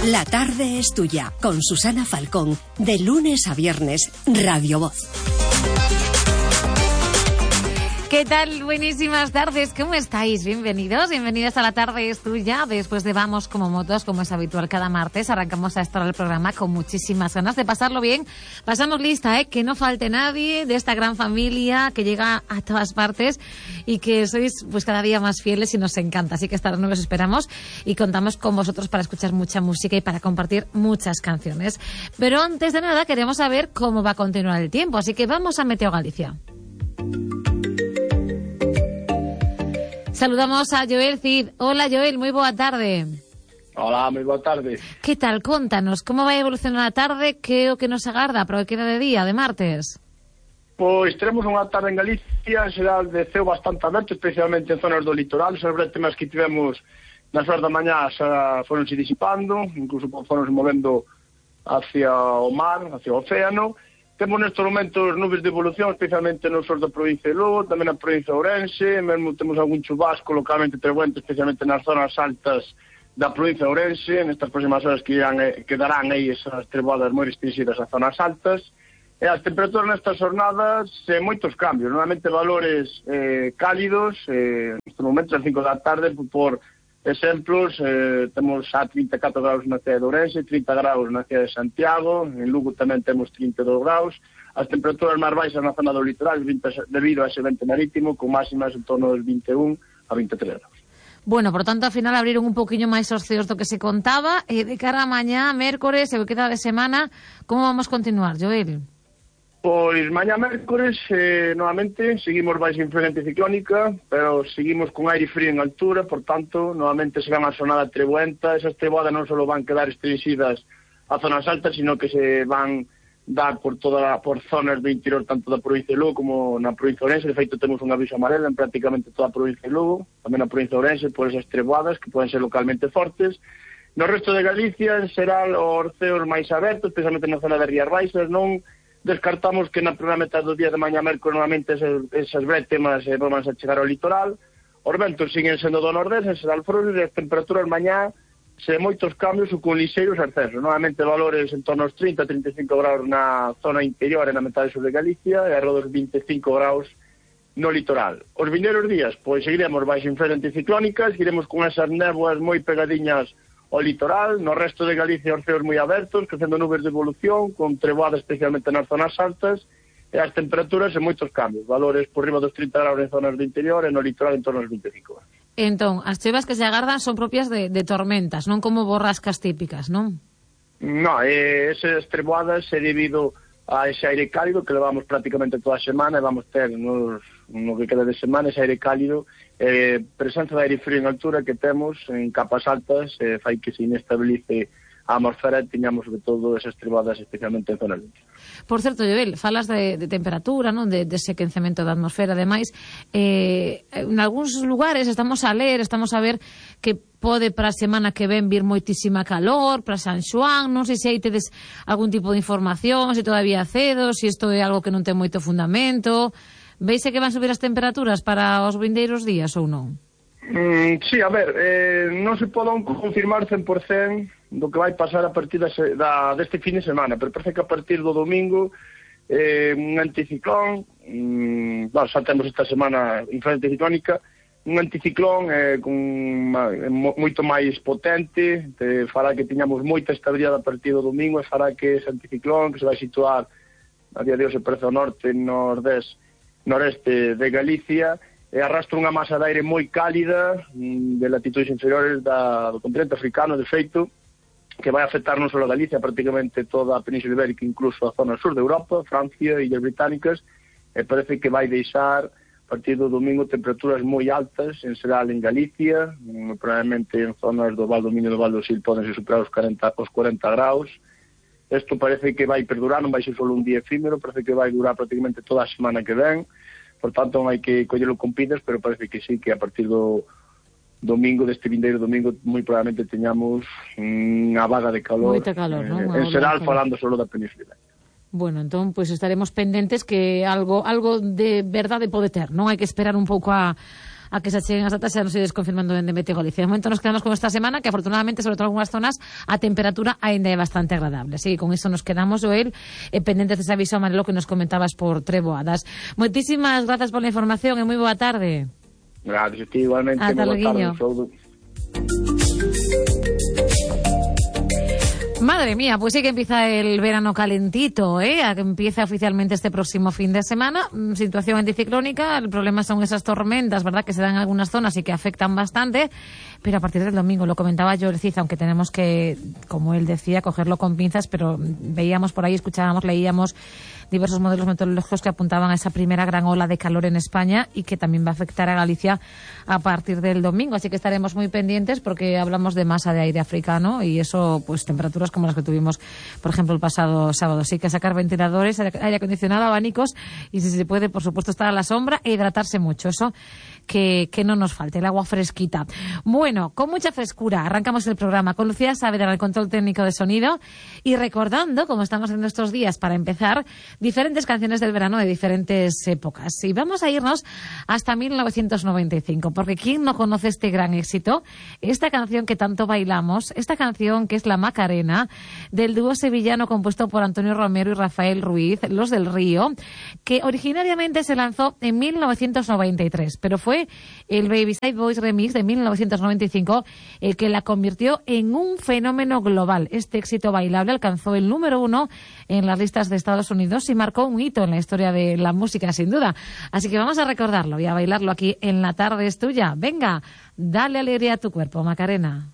La tarde es tuya, con Susana Falcón, de lunes a viernes, Radio Voz. ¿Qué tal? Buenísimas tardes, ¿cómo estáis? Bienvenidos a La Tarde es Tuya. Después de Vamos como Motos, como es habitual cada martes, arrancamos a esta hora el programa con muchísimas ganas de pasarlo bien. Pasamos lista, que no falte nadie de esta gran familia que llega a todas partes y que sois pues cada día más fieles y nos encanta. Así que esta noche os esperamos y contamos con vosotros para escuchar mucha música y para compartir muchas canciones. Pero antes de nada queremos saber cómo va a continuar el tiempo, así que vamos a Meteo Galicia. Saludamos a Joel Cid. Hola, Joel, moi boa tarde. Hola, moi boa tarde. Que tal? Contanos, como vai evolucionar a tarde? Que é o que nos agarda para o que queda de día, de martes? Pois teremos unha tarde en Galicia, en xeral de ceo bastante aberto, especialmente en zonas do litoral. Os bretemas que tivemos nas horas da mañá xa foronse disipando, incluso foronse movendo hacia o mar, hacia o océano. Temos nestes momentos nubes de evolución, especialmente no sur da provincia de Lugo, tamén na provincia de Ourense, mesmo temos algún chubasco localmente trebuento, especialmente nas zonas altas da provincia de Ourense. Nestas próximas horas quedarán aí esas treboadas moi restringidas ás zonas altas. E as temperaturas nestas jornadas, moitos cambios, normalmente valores cálidos, nestes momentos, às 5 da tarde, por exemplos, temos a 34 graus na cidade de Ourense, 30 graus na cidade de Santiago, en Lugo tamén temos 32 graus, as temperaturas máis baixas na zona do litoral debido a ese vento marítimo, con máximas en torno dos 21 a 23 graus. Bueno, por tanto, ao final abriron un poquinho máis os ceos do que se contaba, e de cara a mañá, mércores, e o que queda de semana, como vamos continuar, Joel? Pois mañá mércores, novamente, seguimos baixo influencia anticiclónica, pero seguimos con aire frío en altura, por tanto, novamente será unha xornada trebuenta. Esas treboadas non só van quedar restringidas a zonas altas, sino que se van dar por zonas do interior, tanto da provincia de Lugo como na provincia de Ourense. De feito, temos un aviso amarelo en prácticamente toda a provincia de Lugo, tamén na provincia de Ourense, por esas treboadas que poden ser localmente fortes. No resto de Galicia, será os ceos máis abertos, especialmente na zona de Rías Baixas. Non descartamos que na primeira metade do día de mañá mércoles normalmente esas brétemas van a chegar ao litoral. Os ventos siguen sendo do nordés, en xeral frouxos, e as temperaturas mañá moitos cambios ou con lixeiros ascensos. Normalmente valores en torno aos 30-35 graus na zona interior e na metade sur de Galicia, e arredor dos 25 graus no litoral. Os vindeiros días, pois seguiremos baixo influencia anticiclónica, seguiremos con esas néboas moi pegadiñas ao litoral. No resto de Galicia os ceos moi abertos, crecendo nubes de evolución, con treboadas especialmente nas zonas altas, e as temperaturas en moitos cambios, valores por riba dos 30 graus en zonas do interior e no litoral en torno aos 25 graus. Entón, as chuvas que se agardan son propias de tormentas, non como borrascas típicas, non? Non, esas treboadas é debido a ese aire cálido que levamos prácticamente toda a semana, e vamos ter no que queda de semana ese aire cálido, presenza de aire frío en altura que temos en capas altas, fai que se inestabilice a atmosfera e teñamos sobre todo esas treboadas especialmente en zonas limpias. Por certo, Joel, falas de temperatura, non? De ese quencemento da atmosfera, ademais, en algúns lugares estamos a ver que pode para a semana que ven vir moitísima calor, para San Xoán, non sei se aí tedes algún tipo de información, se todavía cedo, se isto é algo que non ten moito fundamento. Veise que van subir as temperaturas para os vindeiros días ou non? Sí, a ver, non se poden confirmar 100% do que vai pasar a partir deste fin de semana, pero parece que a partir do domingo un anticiclón, xa temos esta semana influencia anticiclónica, un anticiclón moito máis potente, fará que teñamos moita estabilidade a partir do domingo, e fará que ese anticiclón, que se vai situar a día de hoxe prezo norte, noreste de Galicia, arrastra unha masa de aire moi cálida de latitudes inferiores do continente africano, de feito, que vai afectar non só a Galicia, prácticamente toda a Península Ibérica, incluso a zona sur de Europa, Francia e Illas Británicas, e parece que vai deixar a partir do domingo temperaturas moi altas, en xeral en Galicia, probablemente en zonas do Val do Miño e do Val do Sil podense superar os 40 graus. Isto parece que vai perdurar, non vai ser só un día efímero, parece que vai durar prácticamente toda a semana que ven, por tanto non hai que collelo con pinzas, pero parece que sí, que a partir do domingo, deste vindeiro domingo, moi probablemente teñamos unha vaga de calor. Moita calor, non? En xeral, falando solo da Península Ibérica. Bueno, entón, pois estaremos pendentes que algo de verdade pode ter, non? Hai que esperar un pouco a a que se acheguen as datas e nos ides confirmando en Meteo Galicia. De momento nos quedamos con esta semana, que afortunadamente, sobre todo en algunhas zonas, a temperatura ainda é bastante agradable. Así que con iso nos quedamos, Joel, pendentes dese aviso amarelo que nos comentabas por Treboadas. Moitísimas grazas pola información e moi boa tarde. Gracias a ti, igualmente. Ata Boa tarde, logo. Madre mía, pues sí que empieza el verano calentito, ¿eh? Empieza oficialmente este próximo fin de semana. Situación anticiclónica, el problema son esas tormentas, ¿verdad?, que se dan en algunas zonas y que afectan bastante, pero a partir del domingo, lo comentaba Joel Cid, aunque tenemos que, como él decía, cogerlo con pinzas, pero veíamos por ahí, escuchábamos, leíamos diversos modelos meteorológicos que apuntaban a esa primera gran ola de calor en España y que también va a afectar a Galicia a partir del domingo. Así que estaremos muy pendientes porque hablamos de masa de aire africano y eso, pues temperaturas como las que tuvimos, por ejemplo, el pasado sábado. Así que sacar ventiladores, aire acondicionado, abanicos y, si se puede, por supuesto, estar a la sombra e hidratarse mucho. Eso que no nos falte, el agua fresquita. Bueno, con mucha frescura arrancamos el programa con Lucía Saavedra, el control técnico de sonido, y recordando, como estamos en estos días, para empezar, diferentes canciones del verano de diferentes épocas. Y vamos a irnos hasta 1995, porque ¿quién no conoce este gran éxito? Esta canción que tanto bailamos, esta canción que es La Macarena, del dúo sevillano compuesto por Antonio Romero y Rafael Ruiz, Los del Río, que originariamente se lanzó en 1993, pero fue el Babyside Boys Remix de 1995 el que la convirtió en un fenómeno global. Este éxito bailable alcanzó el número 1 en las listas de Estados Unidos y marcó un hito en la historia de la música, sin duda. Así que vamos a recordarlo y a bailarlo aquí en La Tarde es Tuya. Venga, dale alegría a tu cuerpo, Macarena.